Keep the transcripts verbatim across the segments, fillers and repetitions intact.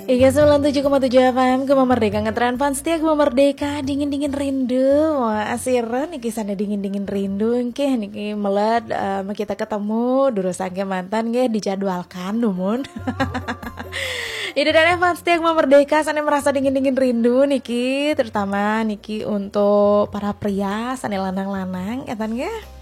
Iya, sembilan tujuh koma tujuh F M, Gema Merdeka, ngetren fans setia Gema Merdeka, dingin-dingin rindu. Wah, asira niki sana dingin-dingin rindu, engke niki melet, eh, kita ketemu, durus angke mantan, nggih, dijadwalkan, dumun. Ini dari fans setia Gema Merdeka, sana merasa dingin-dingin rindu, niki, terutama niki untuk para pria, sana lanang-lanang, etan, nggih.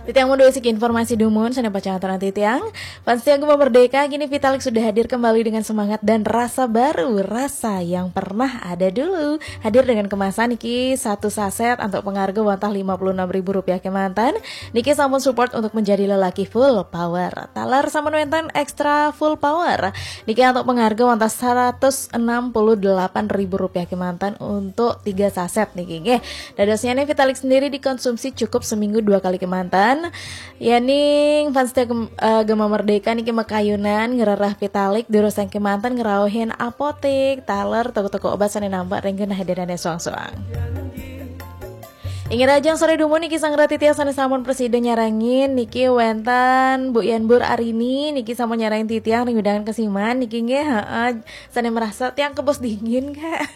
Titiang mau dua siki informasi dumun, sana pacangan titiang. Fans setia Gema Merdeka, kini Vitalik sudah hadir kembali dengan semangat dan rasa baru, rasa yang pernah ada dulu. Hadir dengan kemasan niki satu saset untuk pengarga wantah lima puluh enam ribu rupiah kemanten. Niki sampun support untuk menjadi lelaki full power. Taler sampun wenten extra full power. Niki untuk pengarga wantah seratus enam puluh delapan ribu rupiah kemanten untuk tiga saset niki, nggih. Dadosnya nih, Vitalik sendiri dikonsumsi cukup seminggu dua kali kemanten. Yaning fans setia Gem-, eh, Gema Merdeka niki makayunan ngerereh Vitalik, durus angke manten ngerauhin apotik, taler, toko-toko obat sana nampak ring genah hadirane suang-suang. Inggih, rahajeng sore dumun niki, sang rati tiang sana sampun presida nyarengin niki, wenten Bu Yanbur Arini niki sampun nyarengin titiang ring wewidangan Kesiman niki, nggih, heeh. Sana merasa tiang kebos dingin, Kak.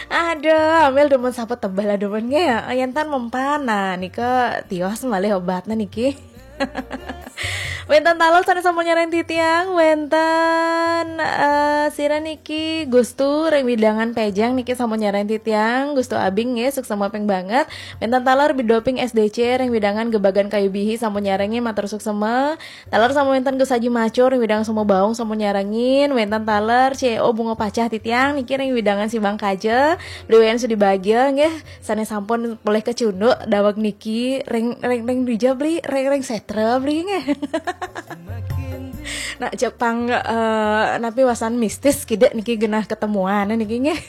Aduh, ambil dumun saput tebal lah dumun, nggih. Yen tan mempan, nah, nika tios malih obatnya niki. Wenten taler sana sampun nyarengin titiang, wenten, eh, sira niki Gustu ring wewidangan Pejeng niki sampun nyarengin titiang, Gustu Abing, nggih, suksma ping banget. Wenten taler Bidoping S D C ring wewidangan Gebagan Kayu Bihi sampun nyarengin, matur suksma. Taler sampun wenten Gus Haji Macur ring wewidangan Sumbawa Baung sampun nyarengin, wenten taler C E O Bunga Pacah titiang niki ring wewidangan Sibang Kaja, Bli Wayan Sudi Bagia, nggih, sane sampun polih kecunduk daweg niki ring, ring, ring dija, Bli, ring, ring setra, Bli, nggih. Nak Jepang, eh, napi wasan mistis kidik niki genah ketemuan niki, nggih.